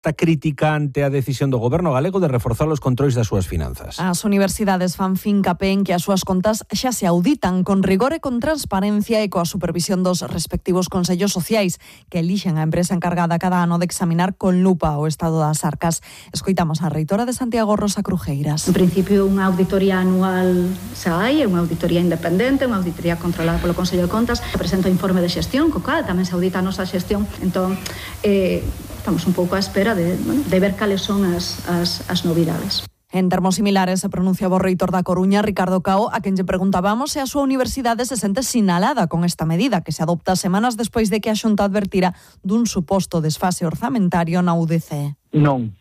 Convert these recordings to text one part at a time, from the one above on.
Está criticante a decisión do goberno galego de reforzar os controis das súas finanzas. As universidades fan fincapé en que as súas contas xa se auditan con rigor e con transparencia e coa supervisión dos respectivos consellos sociais que elixen a empresa encargada cada ano de examinar con lupa o estado das arcas. Escoitamos a reitora de Santiago, Rosa Crujeiras. En principio, unha auditoría anual xa hai, é unha auditoría independente, unha auditoría controlada polo Consello de Contas, presenta o informe de xestión, co cal tamén se audita a nosa xestión. Entón, estamos un pouco á espera de ver cales son as novidades. En termos similares se pronunciaba o reitor da Coruña, Ricardo Cao, a quen lle preguntábamos se a súa universidade se sente sinalada con esta medida que se adopta semanas despois de que a Xunta advertira dun suposto desfase orzamentario na UDC. Non,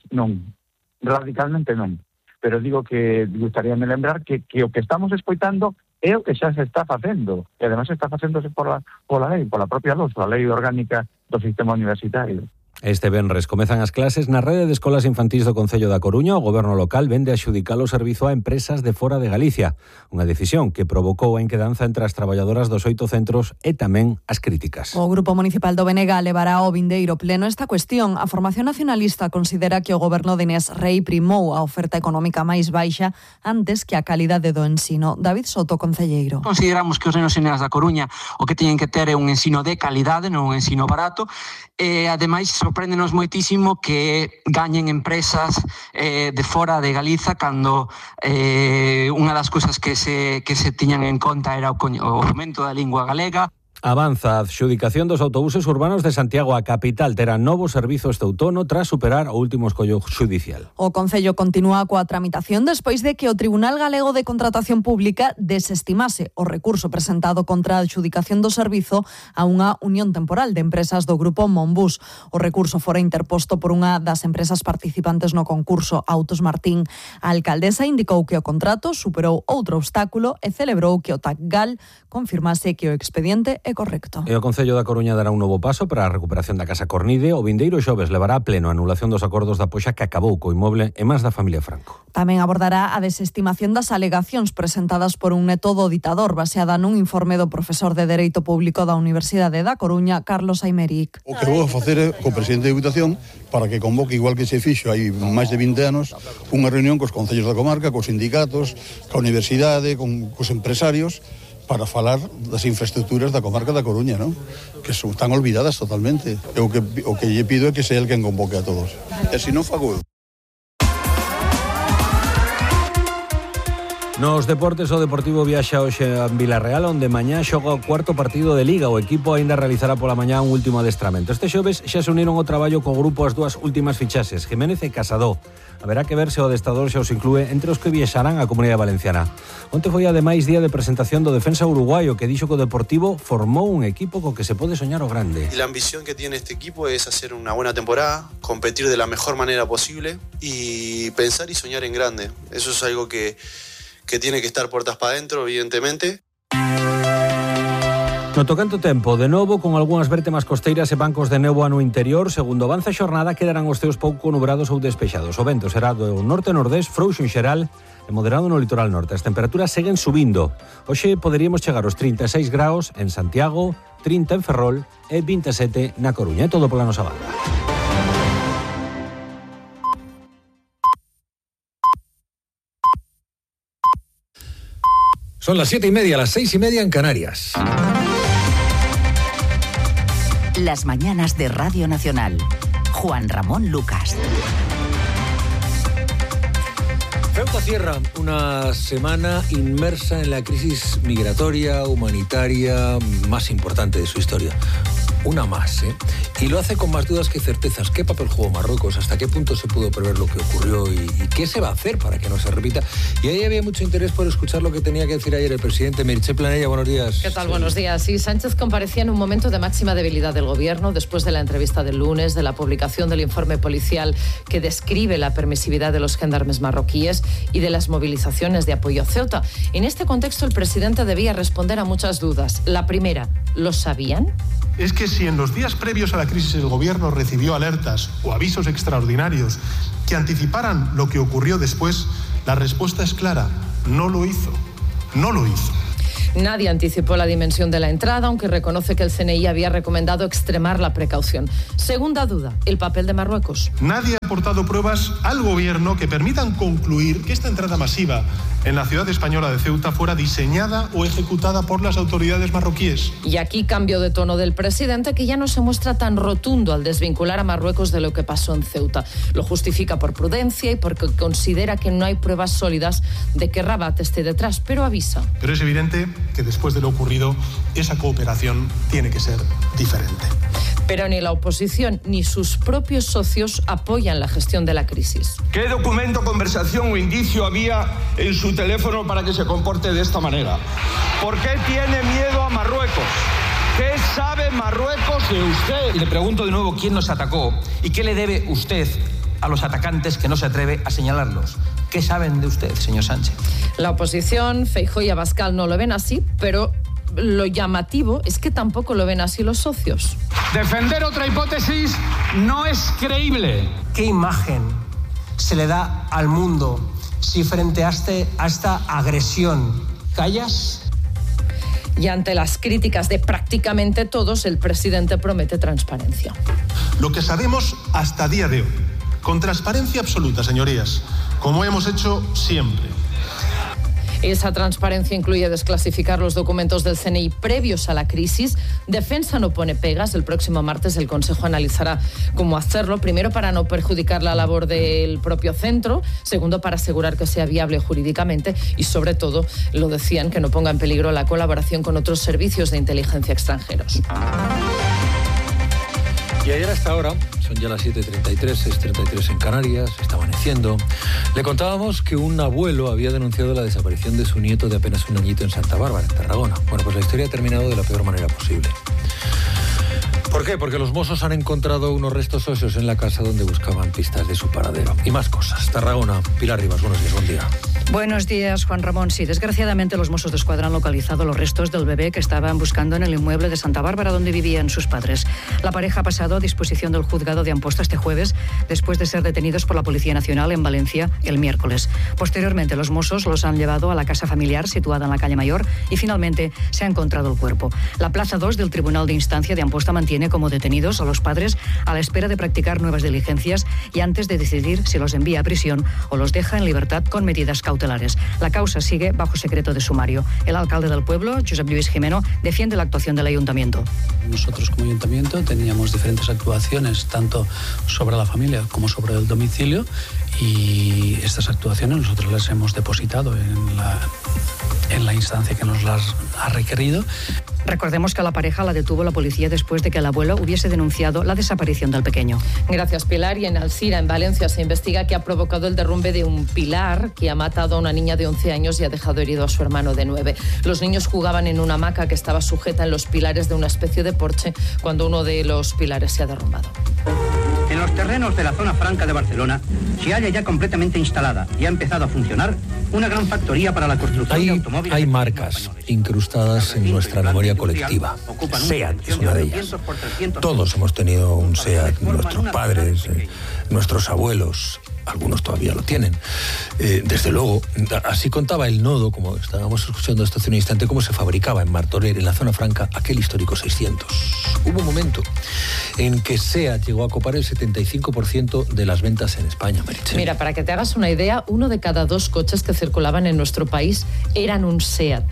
radicalmente non. Pero digo que gustaríame lembrar que o que estamos escoitando é o que xa se está facendo. E además está facéndose pola lei, pola propia luz, a lei orgánica do sistema universitario. Este venres comezan as clases na rede de escolas infantís do Concello da Coruña. O goberno local vende a adxudicar o servizo a empresas de fora de Galicia. Unha decisión que provocou a inquedanza entre as traballadoras dos 8 centros e tamén as críticas. O Grupo Municipal do Benega levará ao vindeiro pleno esta cuestión. A Formación Nacionalista considera que o goberno de Inés Rei primou a oferta económica máis baixa antes que a calidade do ensino. David Soto, concelleiro. Consideramos que os nenos e nenas da Coruña o que teñen que ter é un ensino de calidade, non un ensino barato, e ademais sorpréndenos moitísimo que gañen empresas de fora de Galiza cando unha das cousas que se tiñan en conta era o fomento da lingua galega. Avanza a adxudicación dos autobuses urbanos de Santiago. A capital terá novo servizo este outono tras superar o último escollo xudicial. O Concello continúa coa tramitación despois de que o Tribunal Galego de Contratación Pública desestimase o recurso presentado contra a adxudicación do servizo a unha unión temporal de empresas do grupo Monbus. O recurso fora interposto por unha das empresas participantes no concurso, Autos Martín. A alcaldesa indicou que o contrato superou outro obstáculo e celebrou que o TACGAL confirmase que o expediente é correcto. E o Concello da Coruña dará un novo paso para a recuperación da Casa Cornide. O vindeiro xoves levará a pleno a anulación dos acordos da poxa que acabou co inmoble e máis da familia Franco. Tamén abordará a desestimación das alegacións presentadas por un neto do ditador baseada nun informe do profesor de Dereito Público da Universidade da Coruña, Carlos Aymeric. O que vou a facer é co presidente de Diputación para que convoque, igual que se fixo hai máis de 20 anos, unha reunión cos concellos da comarca, cos sindicatos, coa universidade, cos empresarios, para falar das infraestructuras da comarca da Coruña, ¿no? Que están olvidadas totalmente. O que lle pido é que sea el quen convoque a todos. E se non fago eu. Nos deportes, o Deportivo viaxa hoxe a Vilarreal, onde mañá xoga o cuarto partido de Liga. O equipo aínda realizará pola mañá un último adestramento. Este xoves xa se uniron ao traballo co grupo as dúas últimas fichaxes, Jiménez e Casadó. Haberá que ver se o adestrador xa os inclúe entre os que viaxarán á Comunidade Valenciana. Onte foi ademais día de presentación do defensa uruguayo, que dixo que o Deportivo formou un equipo co que se pode soñar o grande. La ambición que tiene este equipo es hacer una buena temporada, competir de la mejor manera posible y pensar y soñar en grande. Eso es algo que tiene que estar puertas para adentro, evidentemente. No tocante tempo, de novo, con algunhas vértemas costeiras e bancos de néboa no interior, segundo avanza a xornada, quedarán os ceos pouco nubrados ou despexados. O vento será do norte-nordés, frouxo en xeral e moderado no litoral norte. As temperaturas seguen subindo. Hoxe poderíamos chegar aos 36 graus en Santiago, 30 en Ferrol e 27 na Coruña. É todo pola nosa banda. Son las 7:30, las 6:30 en Canarias. Las mañanas de Radio Nacional. Juan Ramón Lucas. Ceuta cierra una semana inmersa en la crisis migratoria, humanitaria más importante de su historia. Una más, ¿eh? Y lo hace con más dudas que certezas. ¿Qué papel jugó Marruecos? ¿Hasta qué punto se pudo prever lo que ocurrió? ¿Y qué se va a hacer para que no se repita? Y ahí había mucho interés por escuchar lo que tenía que decir ayer el presidente. Meritxell Planella, buenos días. ¿Qué tal? Sí. Buenos días. Sí, Sánchez comparecía en un momento de máxima debilidad del gobierno después de la entrevista del lunes, de la publicación del informe policial que describe la permisividad de los gendarmes marroquíes y de las movilizaciones de apoyo a Ceuta. En este contexto, el presidente debía responder a muchas dudas. La primera, ¿lo sabían? Es que si en los días previos a la crisis el gobierno recibió alertas o avisos extraordinarios que anticiparan lo que ocurrió después, la respuesta es clara: no lo hizo. No lo hizo. Nadie anticipó la dimensión de la entrada, aunque reconoce que el CNI había recomendado extremar la precaución. Segunda duda, el papel de Marruecos. Nadie ha aportado pruebas al gobierno que permitan concluir que esta entrada masiva en la ciudad española de Ceuta fuera diseñada o ejecutada por las autoridades marroquíes. Y aquí cambio de tono del presidente, que ya no se muestra tan rotundo al desvincular a Marruecos de lo que pasó en Ceuta. Lo justifica por prudencia y porque considera que no hay pruebas sólidas de que Rabat esté detrás, pero avisa. Pero es evidente que después de lo ocurrido, esa cooperación tiene que ser diferente. Pero ni la oposición ni sus propios socios apoyan la gestión de la crisis. ¿Qué documento, conversación o indicio había en su teléfono para que se comporte de esta manera? ¿Por qué tiene miedo a Marruecos? ¿Qué sabe Marruecos de usted? Y le pregunto de nuevo quién nos atacó y qué le debe usted a los atacantes que no se atreve a señalarlos. ¿Qué saben de usted, señor Sánchez? La oposición, Feijóo y Abascal, no lo ven así, pero lo llamativo es que tampoco lo ven así los socios. Defender otra hipótesis no es creíble. ¿Qué imagen se le da al mundo si frente a esta agresión callas? Y ante las críticas de prácticamente todos, el presidente promete transparencia. Lo que sabemos hasta día de hoy, con transparencia absoluta, señorías, como hemos hecho siempre. Esa transparencia incluye desclasificar los documentos del CNI previos a la crisis. Defensa no pone pegas. El próximo martes el Consejo analizará cómo hacerlo. Primero, para no perjudicar la labor del propio centro. Segundo, para asegurar que sea viable jurídicamente. Y sobre todo, lo decían, que no ponga en peligro la colaboración con otros servicios de inteligencia extranjeros. Y ayer hasta ahora, son ya las 7:33, 6:33 en Canarias, está amaneciendo. Le contábamos que un abuelo había denunciado la desaparición de su nieto de apenas un añito en Santa Bárbara, en Tarragona. Bueno, pues la historia ha terminado de la peor manera posible. ¿Por qué? Porque los Mossos han encontrado unos restos óseos en la casa donde buscaban pistas de su paradero. Y más cosas. Tarragona, Pilar Rivas, buenos días, buen día. Buenos días, Juan Ramón. Sí, desgraciadamente los Mossos d'Esquadra han localizado los restos del bebé que estaban buscando en el inmueble de Santa Bárbara donde vivían sus padres. La pareja ha pasado a disposición del juzgado de Amposta este jueves después de ser detenidos por la Policía Nacional en Valencia el miércoles. Posteriormente los Mossos los han llevado a la casa familiar situada en la calle Mayor y finalmente se ha encontrado el cuerpo. La plaza 2 del Tribunal de Instancia de Amposta mantiene como detenidos a los padres a la espera de practicar nuevas diligencias y antes de decidir si los envía a prisión o los deja en libertad con medidas cautelares. La causa sigue bajo secreto de sumario. El alcalde del pueblo, Josep Lluís Jimeno, defiende la actuación del ayuntamiento. Nosotros como ayuntamiento teníamos diferentes actuaciones, tanto sobre la familia como sobre el domicilio, y estas actuaciones nosotros las hemos depositado en la instancia que nos las ha requerido. Recordemos que a la pareja la detuvo la policía después de que el abuelo hubiese denunciado la desaparición del pequeño. Gracias, Pilar. Y en Alcira, en Valencia, se investiga qué ha provocado el derrumbe de un pilar que ha matado a una niña de 11 años y ha dejado herido a su hermano de 9. Los niños jugaban en una hamaca que estaba sujeta en los pilares de una especie de porche cuando uno de los pilares se ha derrumbado. En los terrenos de la zona franca de Barcelona se halla ya completamente instalada y ha empezado a funcionar una gran factoría para la construcción de automóviles. Hay marcas incrustadas en nuestra memoria colectiva. SEAT es una de ellas. Todos hemos tenido un SEAT, nuestros padres, nuestros abuelos, algunos todavía lo tienen. Desde luego, así contaba el Nodo, como estábamos escuchando esto hace un instante, cómo se fabricaba en Martorell, en la zona franca, aquel histórico 600. Hubo un momento en que SEAT llegó a copar el 75% de las ventas en España, Meritxell. Mira, para que te hagas una idea, 1 de cada 2 coches que circulaban en nuestro país eran un SEAT.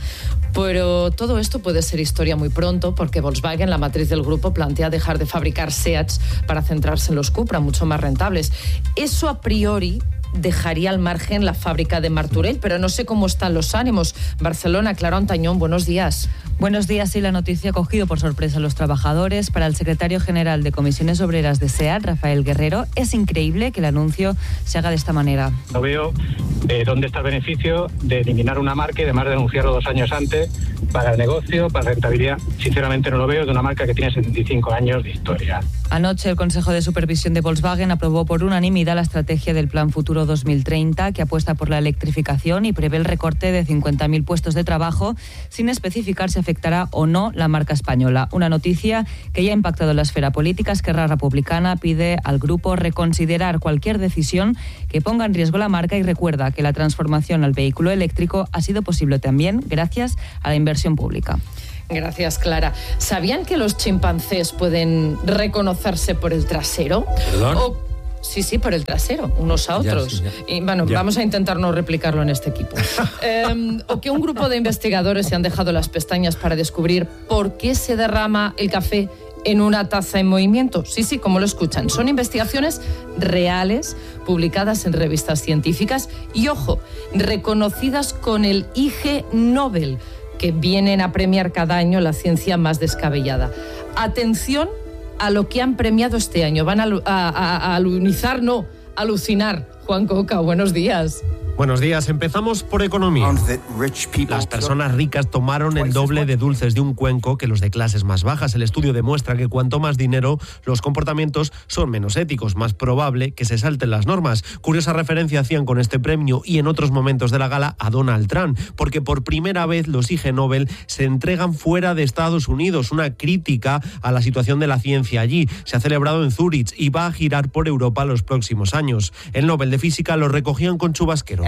Pero todo esto puede ser historia muy pronto, porque Volkswagen, la matriz del grupo, plantea dejar de fabricar SEATs para centrarse en los Cupra, mucho más rentables. Eso a priori dejaría al margen la fábrica de Martorell, pero no sé cómo están los ánimos. Barcelona, Clara Ontañón, buenos días. Buenos días. Sí, la noticia ha cogido por sorpresa a los trabajadores. Para el secretario general de Comisiones Obreras de SEAT, Rafael Guerrero, es increíble que el anuncio se haga de esta manera. No veo dónde está el beneficio de eliminar una marca y además denunciarlo 2 años antes para el negocio, para la rentabilidad. Sinceramente no lo veo, de una marca que tiene 75 años de historia. Anoche el Consejo de Supervisión de Volkswagen aprobó por unanimidad la estrategia del Plan Futuro 2030, que apuesta por la electrificación y prevé el recorte de 50.000 puestos de trabajo, sin especificar si afectará o no la marca española. Una noticia que ya ha impactado en la esfera política. Esquerra Republicana pide al grupo reconsiderar cualquier decisión que ponga en riesgo la marca y recuerda asegura que la transformación al vehículo eléctrico ha sido posible también gracias a la inversión pública. Gracias, Clara. ¿Sabían que los chimpancés pueden reconocerse por el trasero? ¿Perdón? Sí, por el trasero, unos a otros. Y bueno, vamos a intentar no replicarlo en este equipo. O que un grupo de investigadores se han dejado las pestañas para descubrir por qué se derrama el café en una taza en movimiento. Sí, como lo escuchan. Son investigaciones reales, publicadas en revistas científicas y, ojo, reconocidas con el IG Nobel, que vienen a premiar cada año la ciencia más descabellada. Atención a lo que han premiado este año. Van a alucinar. Juan Coca, buenos días. Buenos días. Empezamos por economía. Las personas ricas tomaron el doble de dulces de un cuenco que los de clases más bajas. El estudio demuestra que cuanto más dinero, los comportamientos son menos éticos, más probable que se salten las normas. Curiosa referencia hacían con este premio y en otros momentos de la gala a Donald Trump, porque por primera vez los IG Nobel se entregan fuera de Estados Unidos, una crítica a la situación de la ciencia allí. Se ha celebrado en Zúrich y va a girar por Europa los próximos años. El Nobel de Física lo recogían con chubasqueros.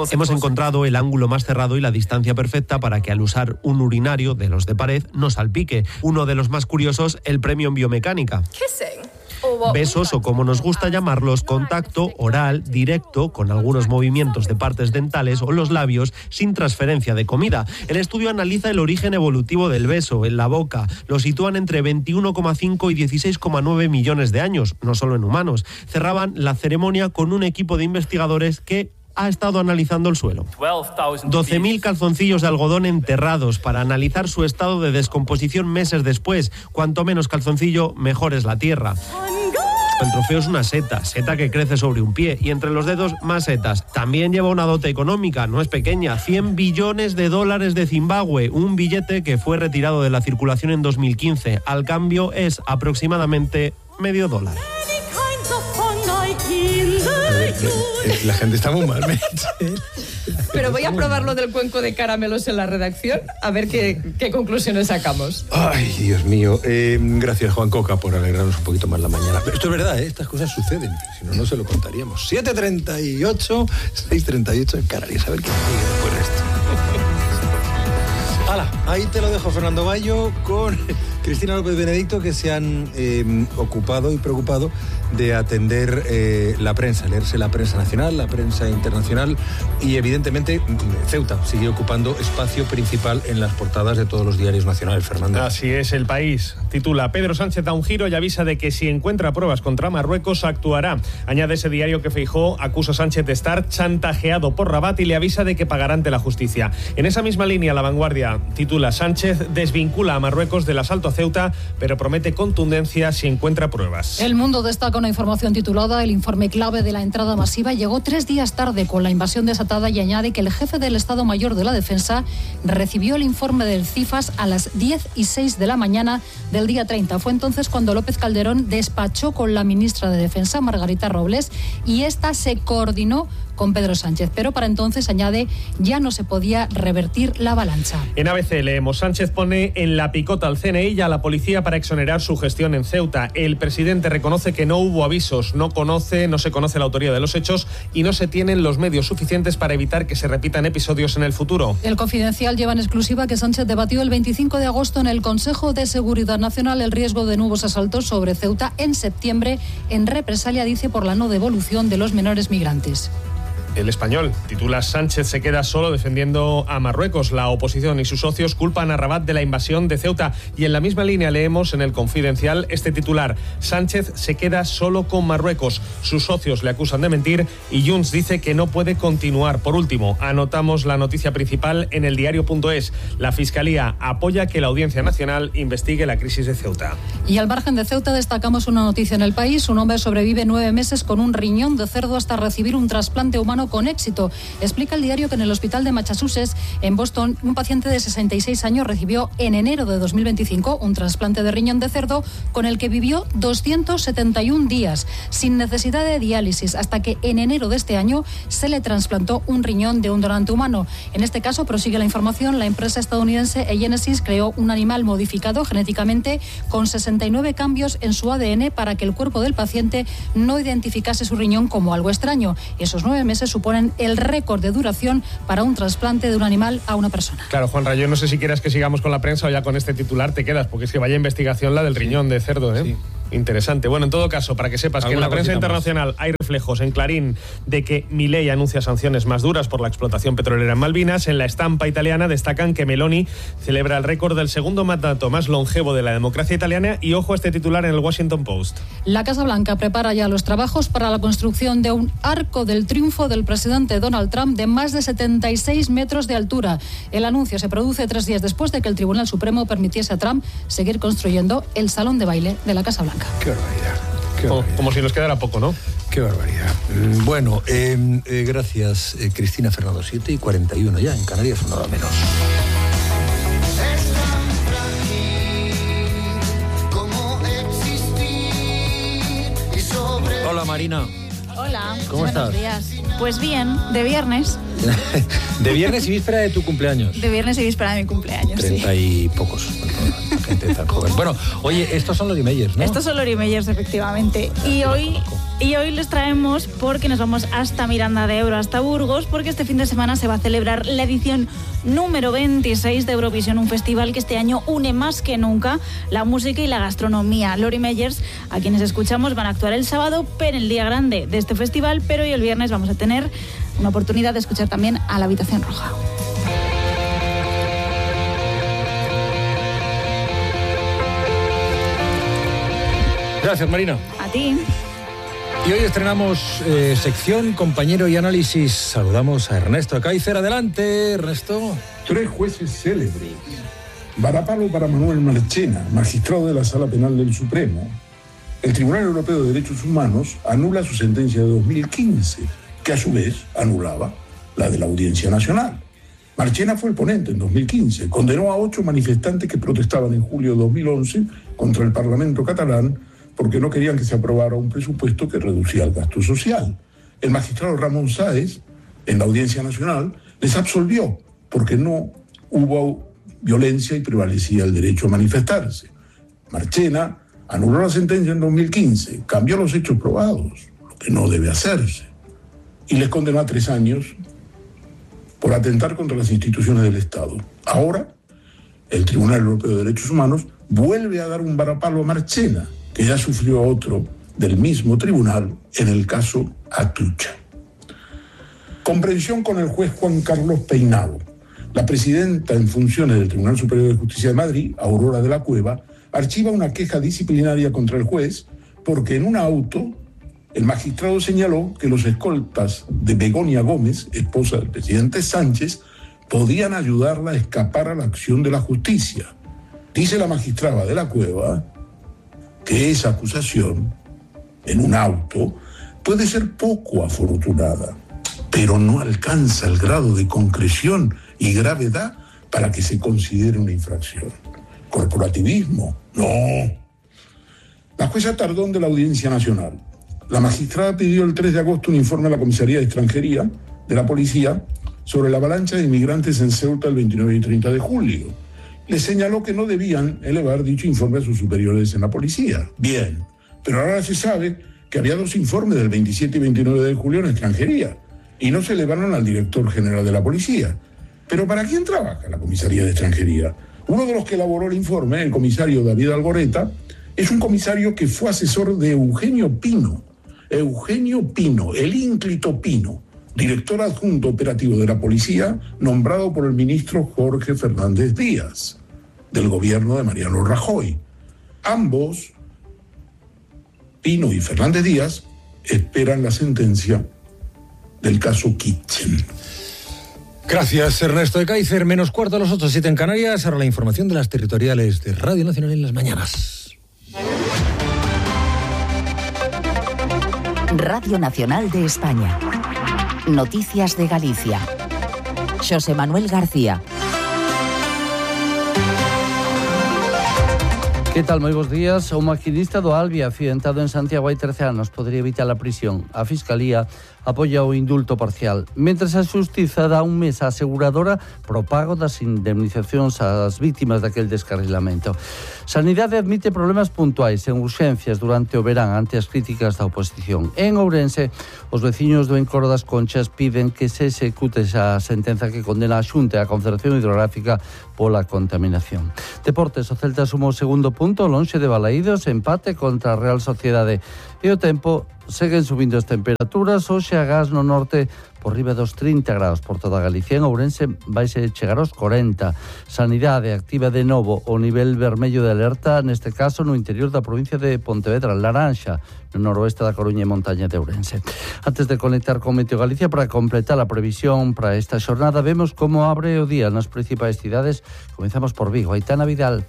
Hemos encontrado el ángulo más cerrado y la distancia perfecta para que al usar un urinario de los de pared no salpique. Uno de los más curiosos, el premio en biomecánica. Besos, o como nos gusta llamarlos, contacto oral directo con algunos movimientos de partes dentales o los labios sin transferencia de comida. El estudio analiza el origen evolutivo del beso en la boca. Lo sitúan entre 21,5 y 16,9 millones de años, no solo en humanos. Cerraban la ceremonia con un equipo de investigadores que ha estado analizando el suelo. 12.000 calzoncillos de algodón enterrados para analizar su estado de descomposición meses después. Cuanto menos calzoncillo, mejor es la tierra. El trofeo es una seta que crece sobre un pie y entre los dedos más setas. También lleva una dote económica, no es pequeña, $100 billones de Zimbabue, un billete que fue retirado de la circulación en 2015. Al cambio es aproximadamente $0,5. La gente está muy mal. Pero voy a probar lo del cuenco de caramelos en la redacción, a ver qué conclusiones sacamos. Ay, Dios mío. Gracias, Juan Coca, por alegrarnos un poquito más la mañana. Pero esto es verdad, estas cosas suceden. Si no, no se lo contaríamos. 7:38, 6:38 en Canarias. A ver qué sigue después de esto. ¡Hala! Ahí te lo dejo, Fernando Bayo, con Cristina López Benedicto, que se han ocupado y preocupado de atender la prensa, leerse la prensa nacional, la prensa internacional y evidentemente Ceuta sigue ocupando espacio principal en las portadas de todos los diarios nacionales, Fernando. Así es, El País titula: Pedro Sánchez da un giro y avisa de que si encuentra pruebas contra Marruecos actuará. Añade ese diario que Feijóo acusa a Sánchez de estar chantajeado por Rabat y le avisa de que pagará ante la justicia. En esa misma línea, La Vanguardia titula: Sánchez desvincula a Marruecos del asalto a Ceuta, pero promete contundencia si encuentra pruebas. El Mundo destaca una información titulada: el informe clave de la entrada masiva llegó 3 días tarde con la invasión desatada, y añade que el jefe del Estado Mayor de la Defensa recibió el informe del CIFAS a las 10:06 de la mañana del día 30. Fue entonces cuando López Calderón despachó con la ministra de Defensa, Margarita Robles, y esta se coordinó con Pedro Sánchez, pero para entonces, añade, ya no se podía revertir la avalancha. En ABC leemos: Sánchez pone en la picota al CNI y a la policía para exonerar su gestión en Ceuta. El presidente reconoce que no hubo avisos, no se conoce la autoría de los hechos y no se tienen los medios suficientes para evitar que se repitan episodios en el futuro. El Confidencial lleva en exclusiva que Sánchez debatió el 25 de agosto en el Consejo de Seguridad Nacional el riesgo de nuevos asaltos sobre Ceuta en septiembre, en represalia, dice, por la no devolución de los menores migrantes. El Español titula: Sánchez se queda solo defendiendo a Marruecos. La oposición y sus socios culpan a Rabat de la invasión de Ceuta. Y en la misma línea leemos en el Confidencial este titular: Sánchez se queda solo con Marruecos. Sus socios le acusan de mentir y Junts dice que no puede continuar. Por último, anotamos la noticia principal en el diario.es. La Fiscalía apoya que la Audiencia Nacional investigue la crisis de Ceuta. Y al margen de Ceuta destacamos una noticia en El País: un hombre sobrevive 9 meses con un riñón de cerdo hasta recibir un trasplante humano con éxito. Explica el diario que en el hospital de Massachusetts, en Boston, un paciente de 66 años recibió en enero de 2025 un trasplante de riñón de cerdo con el que vivió 271 días, sin necesidad de diálisis, hasta que en enero de este año se le trasplantó un riñón de un donante humano. En este caso, prosigue la información, la empresa estadounidense Genesis creó un animal modificado genéticamente con 69 cambios en su ADN para que el cuerpo del paciente no identificase su riñón como algo extraño. Esos 9 meses suponen el récord de duración para un trasplante de un animal a una persona. Claro, Juanra, yo no sé si quieras que sigamos con la prensa o ya con este titular te quedas, porque es que vaya investigación la del riñón de cerdo, ¿eh? Sí. Interesante. Bueno, en todo caso, para que sepas que en la prensa internacional hay reflejos en Clarín de que Milei anuncia sanciones más duras por la explotación petrolera en Malvinas. En la estampa italiana destacan que Meloni celebra el récord del segundo mandato más longevo de la democracia italiana y ojo a este titular en el Washington Post. La Casa Blanca prepara ya los trabajos para la construcción de un arco del triunfo del presidente Donald Trump de más de 76 metros de altura. El anuncio se produce 3 días después de que el Tribunal Supremo permitiese a Trump seguir construyendo el salón de baile de la Casa Blanca. Qué barbaridad. Como si nos quedara poco, ¿no? Qué barbaridad. Bueno, gracias, Cristina Fernando. 7:41 ya, en Canarias, una hora menos. Hola, Marina. Hola. ¿Cómo estás? Buenos días. Pues bien, de viernes. De viernes y víspera de tu cumpleaños. De viernes y víspera de mi cumpleaños, 30 y pocos. Gente tan joven. Bueno, oye, estos son los Meyers, ¿no? Estos son los Meyers, efectivamente. Y hoy les traemos porque nos vamos hasta Miranda de Ebro, hasta Burgos, porque este fin de semana se va a celebrar la edición número 26 de Eurovisión, un festival que este año une más que nunca la música y la gastronomía. Lori Meyers, a quienes escuchamos, van a actuar el sábado, pero en el día grande de este festival, pero hoy el viernes vamos a tener una oportunidad de escuchar también a la Habitación Roja. Gracias, Marina. A ti. Y hoy estrenamos sección, compañero y análisis. Saludamos a Ernesto Kaiser. Adelante, Ernesto. 3 jueces célebres. Varapalo para Manuel Marchena, magistrado de la Sala Penal del Supremo. El Tribunal Europeo de Derechos Humanos anula su sentencia de 2015, que a su vez anulaba la de la Audiencia Nacional. Marchena fue el ponente en 2015. Condenó a 8 manifestantes que protestaban en julio de 2011 contra el Parlamento catalán porque no querían que se aprobara un presupuesto que reducía el gasto social. El magistrado Ramón Sáez, en la Audiencia Nacional, les absolvió porque no hubo violencia y prevalecía el derecho a manifestarse. Marchena anuló la sentencia en 2015, cambió los hechos probados, lo que no debe hacerse, y les condenó a 3 años por atentar contra las instituciones del Estado. Ahora, el Tribunal Europeo de Derechos Humanos vuelve a dar un varapalo a Marchena, que ya sufrió otro del mismo tribunal en el caso Atucha. Comprensión con el juez Juan Carlos Peinado. La presidenta en funciones del Tribunal Superior de Justicia de Madrid, Aurora de la Cueva, archiva una queja disciplinaria contra el juez porque en un auto el magistrado señaló que los escoltas de Begoña Gómez, esposa del presidente Sánchez, podían ayudarla a escapar a la acción de la justicia. Dice la magistrada de la Cueva que esa acusación en un auto puede ser poco afortunada, pero no alcanza el grado de concreción y gravedad para que se considere una infracción. ¿Corporativismo? No. La jueza Tardón de la Audiencia Nacional. La magistrada pidió el 3 de agosto un informe a la Comisaría de Extranjería de la Policía sobre la avalancha de inmigrantes en Ceuta el 29 y 30 de julio. Le señaló que no debían elevar dicho informe a sus superiores en la policía. Bien, pero ahora se sabe que había 2 informes del 27 y 29 de julio en Extranjería y no se elevaron al director general de la policía. ¿Pero para quién trabaja la Comisaría de Extranjería? Uno de los que elaboró el informe, el comisario David Algoreta, es un comisario que fue asesor de Eugenio Pino. Eugenio Pino, el ínclito Pino, director adjunto operativo de la policía, nombrado por el ministro Jorge Fernández Díaz, del gobierno de Mariano Rajoy. Ambos, Pino y Fernández Díaz, esperan la sentencia del caso Kitchen. Gracias, Ernesto de Kaiser. Menos cuarto a las 8, 7 en Canarias. Ahora la información de las territoriales de Radio Nacional en las mañanas. Radio Nacional de España. Noticias de Galicia. José Manuel García. Que tal, moi bons días. O maquinista do Albi, accidentado en Santiago hai 13 anos, podría evitar a prisión. A Fiscalía apoia o indulto parcial, mentres a Xustiza dá un mes á aseguradora pro pago das indemnizacións ás vítimas daquel descarrilamento. Sanidade admite problemas puntuais en urxencias durante o verán ante as críticas da oposición. En Ourense, os veciños do Encoro das Conchas piden que se execute a sentenza que condena a Xunta e a Confederación Hidrográfica pola contaminación. Deportes, o Celta sumou o segundo punto, lonxe de Balaídos, empate contra a Real Sociedade. E o tempo, seguen subindo as temperaturas, hoxe a gas no norte por riba dos 30 graus por toda Galicia. En Ourense vaise chegar aos 40. Sanidade activa de novo o nivel vermello de alerta, neste caso no interior da provincia de Pontevedra, laranxa, no noroeste da Coruña e montaña de Ourense. Antes de conectar con Meteo Galicia para completar a previsión para esta xornada, vemos como abre o día nas principais cidades. Comenzamos por Vigo. Aitana Vidal.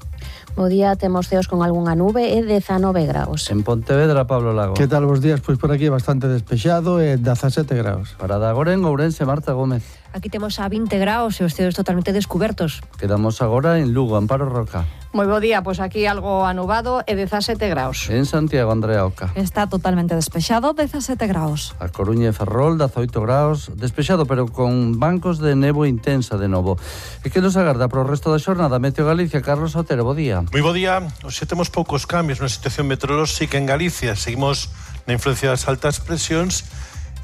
Bo día, temos ceos con algunha nube e 19 graus. En Pontevedra, Pablo Lago. Que tal, bos días? Pois por aquí bastante despexado e 17 graus. Para agora en Ourense, Marta Gómez. Aquí temos a 20 graus e os ceos totalmente descubertos. Quedamos agora en Lugo, Amparo Roca. Moi bo día, pois aquí algo anubado e 17 graus. En Santiago, Andrea Oca. Está totalmente despexado, 17 graus. A Coruña e Ferrol, 18 graus, despexado, pero con bancos de nevo intensa de novo. E que nos agarda para o resto da xornada? Meteo Galicia, Carlos Otero, bo día. Moi bo día. Hoxe temos poucos cambios na situación meteorolóxica en Galicia. Seguimos na influencia das altas presións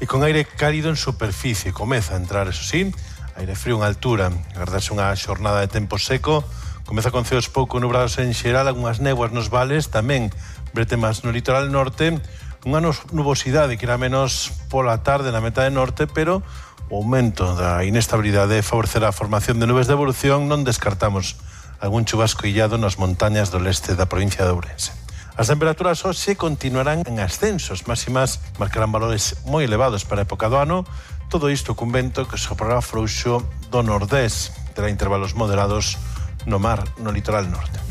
e con aire cálido en superficie. Comeza a entrar, eso sí, aire frío en altura. Agardarse unha xornada de tempo seco. Comeza con ceos pouco nubrados en xeral, algunhas néboas nos vales, tamén bretemas no litoral norte, unha nubosidade que irá menos pola tarde na metade norte, pero o aumento da inestabilidade favorecerá a formación de nubes de evolución. Non descartamos algún chubasco illado nas montañas do leste da provincia de Ourense. As temperaturas hoxe continuarán en ascensos, máximas marcarán valores moi elevados para a época do ano, todo isto cun vento que soprará frouxo do nordés, terá intervalos moderados no mar, no litoral norte.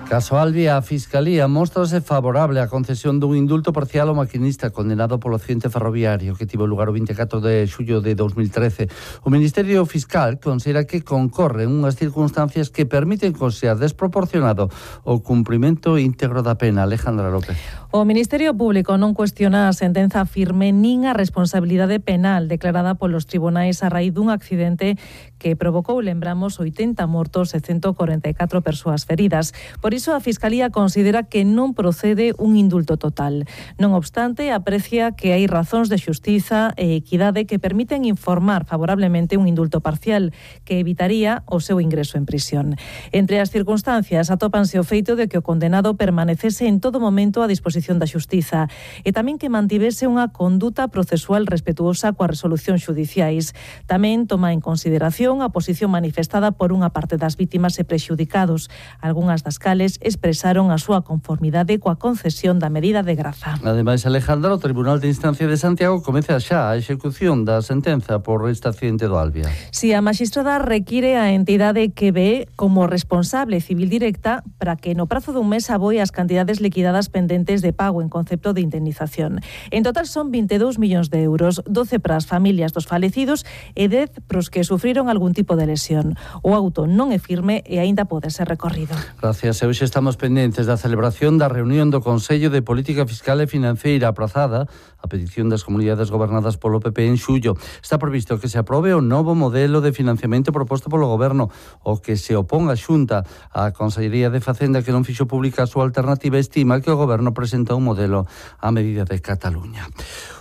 Caso Albi, a Fiscalía mostrase favorable á concesión dun indulto parcial ao maquinista condenado polo accidente ferroviario que tivo lugar o 24 de xullo de 2013. O Ministerio Fiscal considera que concorren unhas circunstancias que permiten considerar desproporcionado o cumprimento íntegro da pena. Alejandra López. O Ministerio Público non cuestiona a sentenza firme nin a responsabilidade penal declarada polos tribunais a raíz dun accidente que provocou, lembramos, 80 mortos e 144 persoas feridas. Por iso a Fiscalía considera que non procede un indulto total. Non obstante, aprecia que hai razóns de xustiza e equidade que permiten informar favorablemente un indulto parcial que evitaría o seu ingreso en prisión. Entre as circunstancias atópanse o feito de que o condenado permanecese en todo momento a disposición da xustiza e tamén que mantivese unha conduta procesual respetuosa coas resolucións xudiciais. Tamén toma en consideración a posición manifestada por unha parte das vítimas e prexudicados, algunhas das cales expresaron a súa conformidade coa concesión da medida de graza. Ademais, Alejandra, o Tribunal de Instancia de Santiago comeza xa a execución da sentenza por este accidente do Albia. Si a magistrada require a entidade que ve como responsable civil directa para que no prazo dun mes aboe as cantidades liquidadas pendentes de pago en concepto de indemnización. En total son 22 millóns de euros, 12 para as familias dos falecidos e 10 pros que sufriron algún tipo de lesión. O auto non é firme e aínda pode ser recorrido. Gracias. E hoxe estamos pendentes da celebración da reunión do Consello de Política Fiscal e Financeira aprazada a petición das comunidades gobernadas polo PP en xullo. Está previsto que se aprobe o novo modelo de financiamento proposto polo Goberno, o que se opón a Xunta. A Consellería de Facenda, que non fixo pública a súa alternativa, estima que o Goberno presenta un modelo a medida de Cataluña.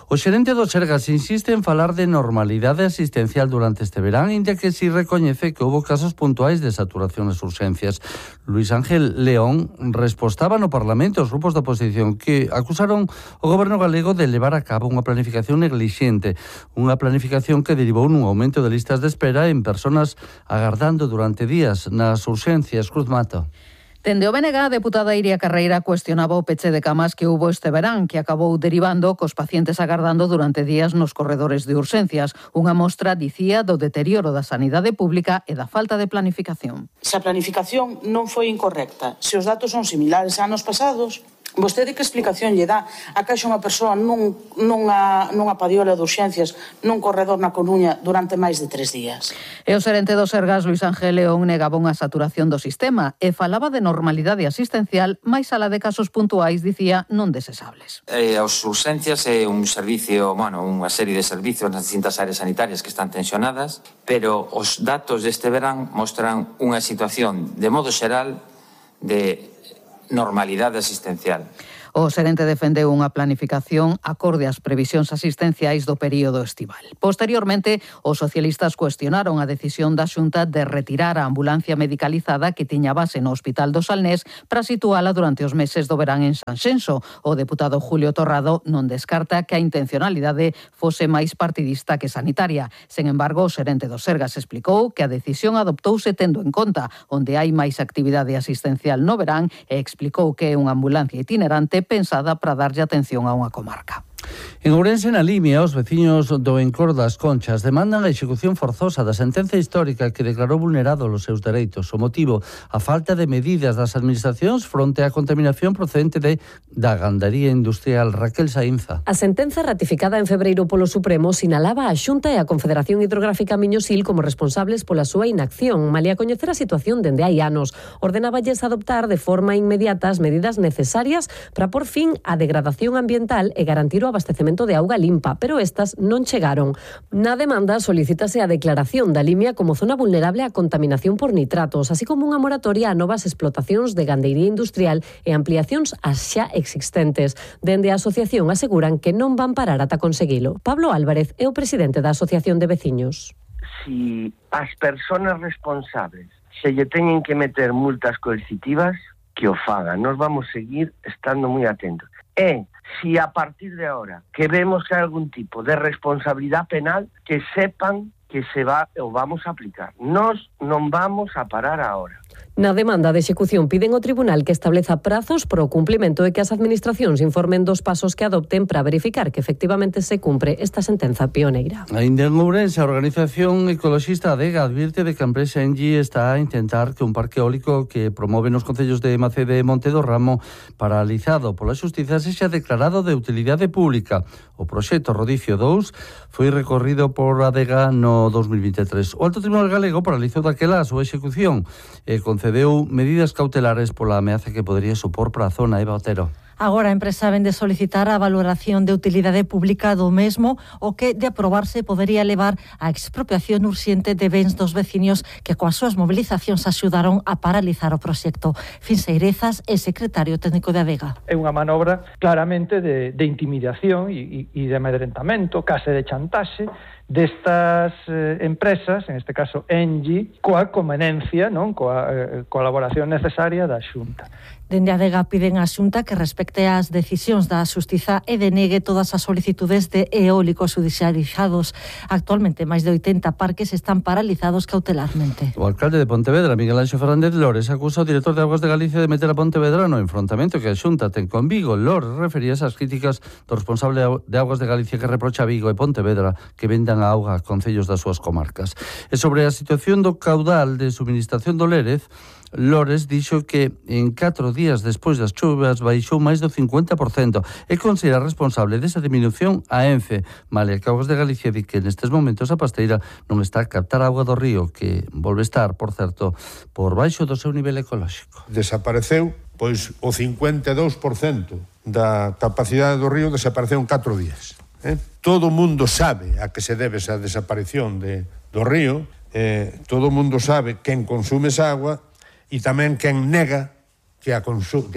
O xerente do Sergas insiste en falar de normalidade asistencial durante este verán, inda que si recoñece que houve casos puntuais de saturación das urxencias. Luis Ángel León respostaba no Parlamento aos grupos da oposición que acusaron o goberno galego de levar a cabo unha planificación neglixente, unha planificación que derivou nun aumento de listas de espera en persoas agardando durante días nas urxencias. Cruz Mato. Dende o BNG, a deputada Iria Carreira cuestionaba o peche de camas que hubo este verán, que acabou derivando cos pacientes agardando durante días nos corredores de urxencias. Unha mostra, dicía, do deterioro da sanidade pública e da falta de planificación. Se a planificación non foi incorrecta, se os datos son similares a anos pasados, Vostede que explicación lle dá a que haxa unha persoa nunha padiola de urxencias nun corredor na Coruña durante máis de 3 días? E o xerente do Sergas, Luis Ángel León, negaba unha saturación do sistema e falaba de normalidade asistencial, máis alá de casos puntuais, dicía, non desesables. As urxencias é un servicio, unha serie de servicios nas distintas áreas sanitarias que están tensionadas, pero os datos deste verán mostran unha situación de modo xeral de normalidade asistencial. O xerente defendeu unha planificación acorde ás previsións asistenciais do período estival. Posteriormente, os socialistas cuestionaron a decisión da Xunta de retirar a ambulancia medicalizada que tiña base no Hospital do Salnés para situala durante os meses do verán en Sanxenxo. O deputado Julio Torrado non descarta que a intencionalidade fose máis partidista que sanitaria. Sen embargo, o xerente do Sergas explicou que a decisión adoptouse tendo en conta onde hai máis actividade asistencial no verán e explicou que é unha ambulancia itinerante pensada para darlle atención a unha comarca. En Ourense, na Limia, os veciños do Encor das Conchas demandan a execución forzosa da sentenza histórica que declarou vulnerado os seus dereitos. O motivo, a falta de medidas das administracións fronte á contaminación procedente da gandaría industrial. Raquel Saínza. A sentenza ratificada en febreiro polo Supremo sinalaba a Xunta e a Confederación Hidrográfica Miñosil como responsables pola súa inacción, malia coñecer a situación dende hai anos. Ordenáballes adoptar de forma inmediata as medidas necesarias para por fin a degradación ambiental e garantir o abastecemento de auga limpa, pero estas non chegaron. Na demanda solicítase a declaración da Limia como zona vulnerable á contaminación por nitratos, así como unha moratoria a novas explotacións de gandeiría industrial e ampliacións ás xa existentes. Dende a asociación aseguran que non van parar ata conseguilo. Pablo Álvarez é o presidente da Asociación de Veciños. Si as persoas responsables se lle teñen que meter multas coercitivas, que o fagan. Nos vamos seguir estando moi atentos. Si a partir de ahora que vemos que hai algún tipo de responsabilidade penal, que sepan que o vamos a aplicar. Nos non vamos a parar ahora. Na demanda de execución piden ao tribunal que estableza prazos para o cumplimento e que as administracións informen dos pasos que adopten para verificar que efectivamente se cumpre esta sentenza pioneira. Ainda en Ourense, a organización ecoloxista ADEGA advirte de que a empresa Engie está a intentar que un parque eólico que promove nos concellos de Macede e Monte do Ramo, paralizado pola xustiza, sexa declarado de utilidade pública. O proxecto Rodicio 2 foi recorrido por ADEGA no 2023. O Alto Tribunal Galego paralizou daquela a súa execución e concedeu medidas cautelares pola ameaza que podería supor para a zona. Eva Otero. Agora a empresa vende solicitar a valoración de utilidade pública do mesmo, o que, de aprobarse, podería levar a expropiación urxente de bens dos veciños que coas súas mobilizacións axudaron a paralizar o proxecto. Finseirezas é secretario técnico de ADEGA. É unha manobra claramente de intimidación e de amedrentamento, case de chantaxe destas empresas, en este caso Engie, coa conveniencia, non, coa colaboración necesaria da Xunta. Dende a ADEGA piden á Xunta que respecte as decisións da Xustiza e denegue todas as solicitudes de eólicos judicializados. Actualmente, máis de 80 parques están paralizados cautelarmente. O alcalde de Pontevedra, Miguel Anxo Fernández Lores, acusa ao director de Augas de Galicia de meter a Pontevedra no enfrontamento que a Xunta ten con Vigo. Lores refería esas críticas do responsable de Augas de Galicia que reprocha a Vigo e Pontevedra que vendan a auga a concellos das súas comarcas. E sobre a situación do caudal de suministración do Lérez, Lores dixo que en 4 días despois das chuvas baixou máis do 50% e considera responsable desa diminución a Ence, malia que Augas de Galicia di que nestes momentos a pasteira non está a captar auga do río, que volve estar, por certo, por baixo do seu nivel ecolóxico. Desapareceu, pois, o 52% da capacidade do río desapareceu en 4 días. Todo o mundo sabe a que se debe esa desaparición do río, todo o mundo sabe quen consume esa agua e tamén quen nega que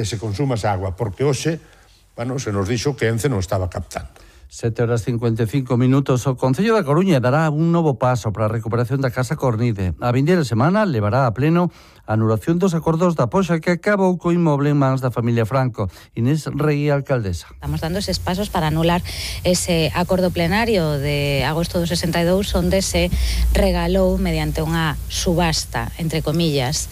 se consuma esa agua, porque hoxe, se nos dixo que Ence non estaba captando. 7:55. O Concello da Coruña dará un novo paso para a recuperación da Casa Cornide. A vindeira semana levará a pleno a anulación dos acordos da poxa que acabou co inmoble en mans da familia Franco. Inés Rey, alcaldesa. Estamos dando eses pasos para anular ese acordo plenario de agosto do 62, onde se regalou mediante unha subasta, entre comillas,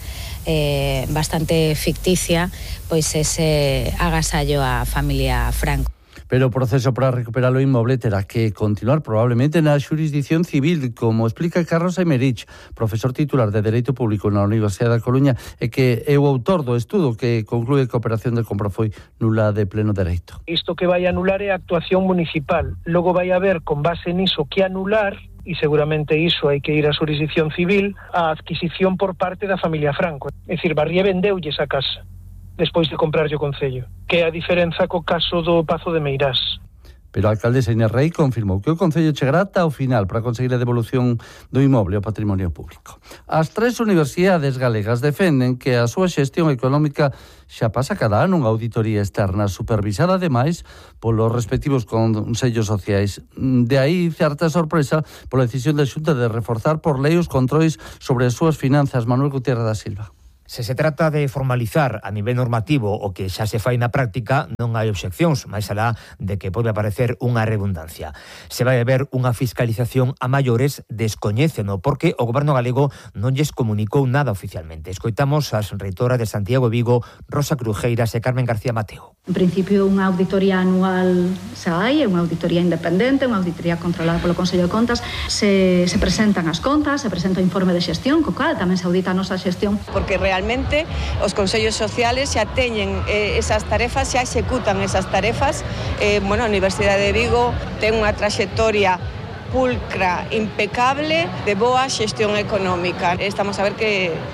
bastante ficticia, pois ese agasallo á familia Franco. Pero o proceso para recuperar o inmoble terá que continuar probablemente na xurisdicción civil, como explica Carlos Aymerich, profesor titular de Dereito Público na Universidade da Coruña e que é o autor do estudo que conclúe que a operación de compra foi nula de pleno dereito. Isto que vai anular é a actuación municipal. Logo vai haber, con base niso, que anular, e seguramente iso hai que ir á xurisdicción civil, a adquisición por parte da familia Franco. É dicir, Barrié vendeulles a casa despois de comprarlle o Concello, que é a diferenza co caso do Pazo de Meirás. Pero a alcaldesa Inés Rei confirmou que o Concello chegará ata o final para conseguir a devolución do inmoble ao patrimonio público. As 3 universidades galegas defenden que a súa xestión económica xa pasa cada ano unha auditoría externa supervisada ademais polos respectivos consellos sociais. De aí certa sorpresa pola decisión da Xunta de reforzar por lei os controis sobre as súas finanzas. Manuel Gutiérrez da Silva. Se se trata de formalizar a nivel normativo o que xa se fai na práctica, non hai obxeccións, máis alá de que pode aparecer unha redundancia. Se vai haber unha fiscalización a maiores, descoñéceno, porque o Goberno galego non lles comunicou nada oficialmente. Escoitamos as reitoras de Santiago e Vigo, Rosa Crujeiras e Carmen García Mateo. En principio, unha auditoría anual se hai, é unha auditoría independente, unha auditoría controlada polo Consello de Contas. Se presentan as contas, se presenta o informe de xestión, co cal tamén se audita a nosa xestión. Porque realmente os consellos sociales xa teñen esas tarefas, xa executan esas tarefas. A Universidade de Vigo ten unha traxectoria pulcra, impecable, de boa xestión económica. Estamos a ver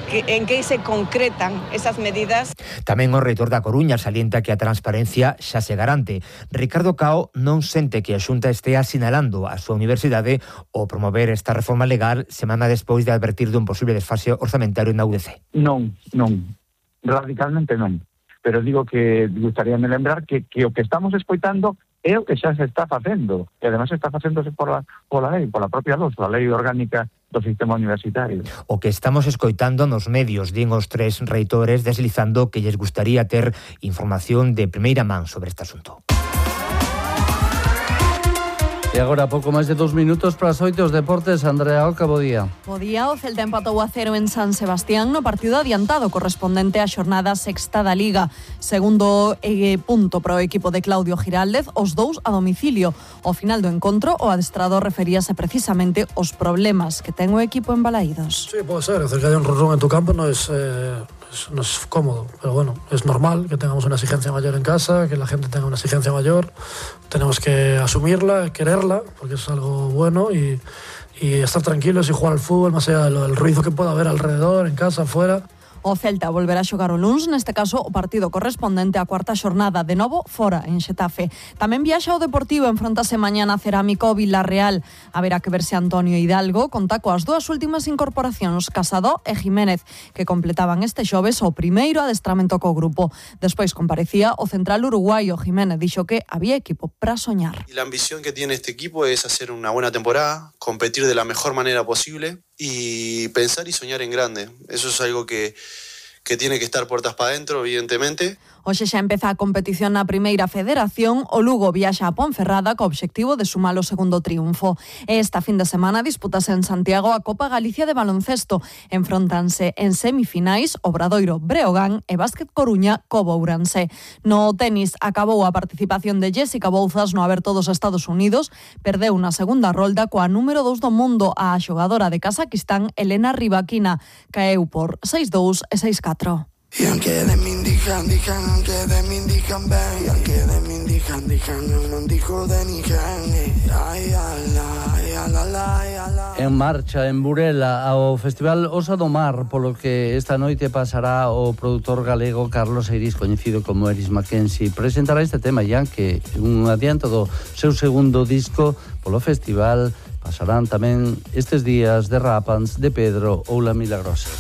en que se concretan esas medidas. Tamén o reitor da Coruña salienta que a transparencia xa se garante. Ricardo Cao non sente que a Xunta estea sinalando a súa universidade ao promover esta reforma legal semana despois de advertir dun posible desfase orzamentario na UDC. Non, radicalmente non. Pero digo que gustaríame lembrar que o que estamos escoitando é o que xa se está facendo, e además está facéndose pola lei, pola propia LOS, a Lei Orgánica do Sistema Universitario. O que estamos escoitando nos medios, din os 3 reitores, deslizando que lles gustaría ter información de primeira man sobre este asunto. E agora pouco máis de 2 minutos para as 8 os deportes. Andrea Oca, bo día. Bo día, o Celta empatou a 0 en San Sebastián no partido adiantado correspondente á xornada sexta da Liga. Segundo punto para o equipo de Claudio Giraldez, os 2 a domicilio. Ao final do encontro, o adestrador referíase precisamente aos problemas que ten o equipo en Balaídos. Sí, pode ser, que haya un run en tu campo no es cómodo, pero bueno, es normal que tengamos una exigencia mayor en casa, que la gente tenga una exigencia mayor, tenemos que asumirla, quererla, porque es algo bueno y estar tranquilos y jugar al fútbol más allá del ruido que pueda haber alrededor, en casa, afuera. O Celta volverá a xogar o luns, neste caso o partido correspondente á cuarta xornada, de novo fora en Xetafe. Tamén viaxa o Deportivo, enfrontase mañana Cerámico ao Villarreal. Haberá que ver se Antonio Hidalgo conta coas 2 últimas incorporacións, Casado e Jiménez, que completaban este xoves o primeiro adestramento co grupo. Despois comparecía o central uruguayo. Jiménez dixo que había equipo para soñar. Y la ambición que tiene este equipo es hacer una buena temporada, competir de la mejor manera posible y pensar y soñar en grande. Eso es algo que tiene que estar puertas para adentro, evidentemente. Hoxe xa empeza a competición na primeira federación. O Lugo viaxa a Ponferrada co obxectivo de sumar o segundo triunfo. Esta fin de semana disputase en Santiago a Copa Galicia de baloncesto. Enfrontanse en semifinais Obradoiro Breogán e Básquet Coruña co Bourense. No tenis acabou a participación de Jessica Bouzas no Aberto dos Estados Unidos. Perdeu na segunda rolda coa número 2 do mundo, a xogadora de Kazakistán Elena Rybakina. Caeu por 6-2 e 6-4. I anche de min dijan, anche de min dijan ben, anche de min dijan, non dijo de nijan, En marcha en Burela ao Festival Osa do Mar, polo que esta noite pasará o produtor galego Carlos Eiris, coñecido como Eris Mackenzie. Presentará este tema ya que un adianto do seu segundo disco polo festival. Pasarán tamén estes días de Rapans, de Pedro ou La Milagrosa.